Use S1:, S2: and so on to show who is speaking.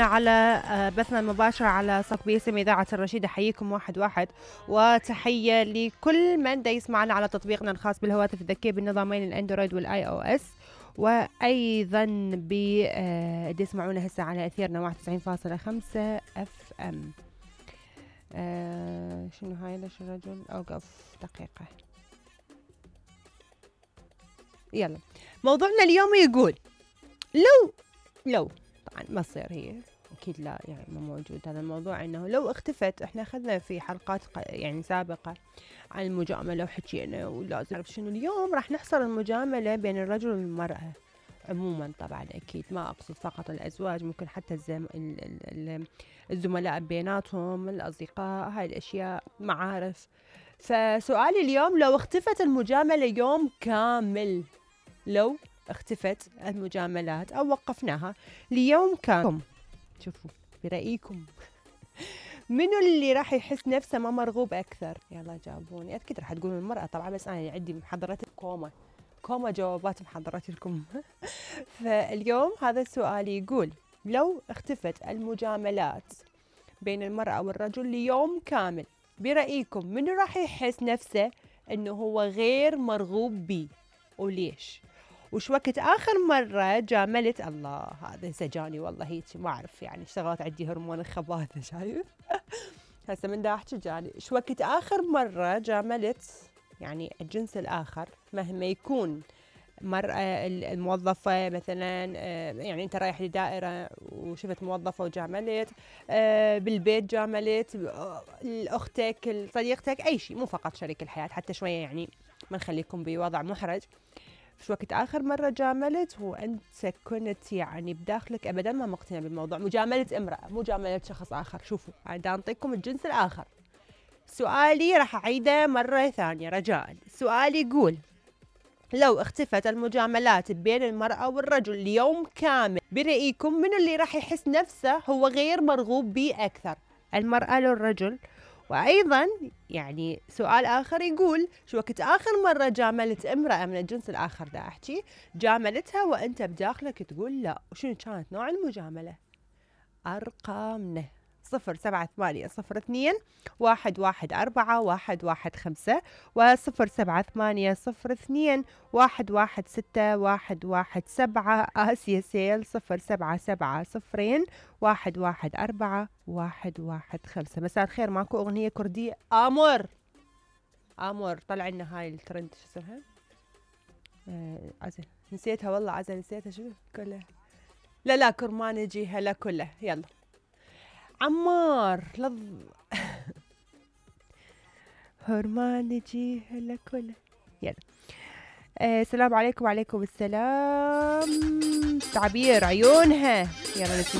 S1: على بثنا المباشر على صف باسم إذاعة الرشيدة. حييكم واحد واحد، وتحية لكل من دا يسمعنا على تطبيقنا الخاص بالهواتف الذكية بالنظامين الأندرويد والآي أو إس، وأيضا دي يسمعونا هسه على أثيرنا 91.5 اف ام. شنو هاي؟ ليش الرجل أوقف دقيقة؟ يلا، موضوعنا اليوم يقول لو طبعا ما تصير، هي اكيد لا، يعني ما موجود هذا الموضوع. انه لو اختفت، احنا اخذنا في حلقات يعني سابقة عن المجاملة وحكينا، ولازم نعرف شنو اليوم راح نحصر المجاملة بين الرجل والمرأة عموما. طبعا اكيد ما اقصد فقط الازواج، ممكن حتى الزملاء بيناتهم، الاصدقاء، هاي الاشياء، معارف. فسؤالي اليوم، لو اختفت المجاملة يوم كامل، لو اختفت المجاملات او وقفناها ليوم كامل، شوفوا برأيكم منو اللي راح يحس نفسه ما مرغوب اكثر؟ يلا جاوبوني. اكيد راح تقولون المرأة طبعا، بس انا عندي محضرات كوما جوابات محضرات لكم. فاليوم هذا السؤال يقول، لو اختفت المجاملات بين المرأة والرجل ليوم كامل، برأيكم منو راح يحس نفسه انه هو غير مرغوب بيه، وليش؟ وش وقت آخر مرة جاملت؟ الله، هذا سجاني والله، هيك ما أعرف، يعني اشتغلت عندي هرمون الخباثة، شايف؟ هسه من دا أحكي جاني. شو وقت آخر مرة جاملت يعني الجنس الآخر، مهما يكون مرأة الموظفة مثلا، يعني أنت رايح لدائرة وشفت موظفة وجاملت، بالبيت جاملت، أختك، صديقتك، أي شيء، مو فقط شريك الحياة، حتى شوية يعني ما نخليكم بوضع محرج. في وقت آخر مرة جاملت وأنت كنت يعني بداخلك أبدا ما مقتنع بالموضوع، مجاملة امرأة، مجاملة شخص آخر. شوفوا، أنا أعطيكم الجنس الآخر. سؤالي راح أعيده مرة ثانية رجاء. السؤال يقول، لو اختفت المجاملات بين المرأة والرجل ليوم كامل، برأيكم منو اللي راح يحس نفسه هو غير مرغوب به أكثر، المرأة لو الرجل؟ وأيضا يعني سؤال آخر يقول، شو وقت آخر مرة جاملت امرأة من الجنس الآخر، دا أحكي جاملتها وأنت بداخلك تقول لا، وشنو كانت نوع المجاملة؟ أرقامنا 0782-114-115 و0780-2116117. آسيا سيل 0770-114-115. مساء الخير، ماكو أغنية كردية؟ آمر طلع لنا هاي الترند، شو اسمها؟ عزة نسيتها والله، عزة نسيتها، شو كلها؟ لا كرمانجي هلا كله. يلا عمار هرمانجي هلا كله. يلا السلام عليكم. وعليكم السلام. تعبير عيونها. يلا نسمع.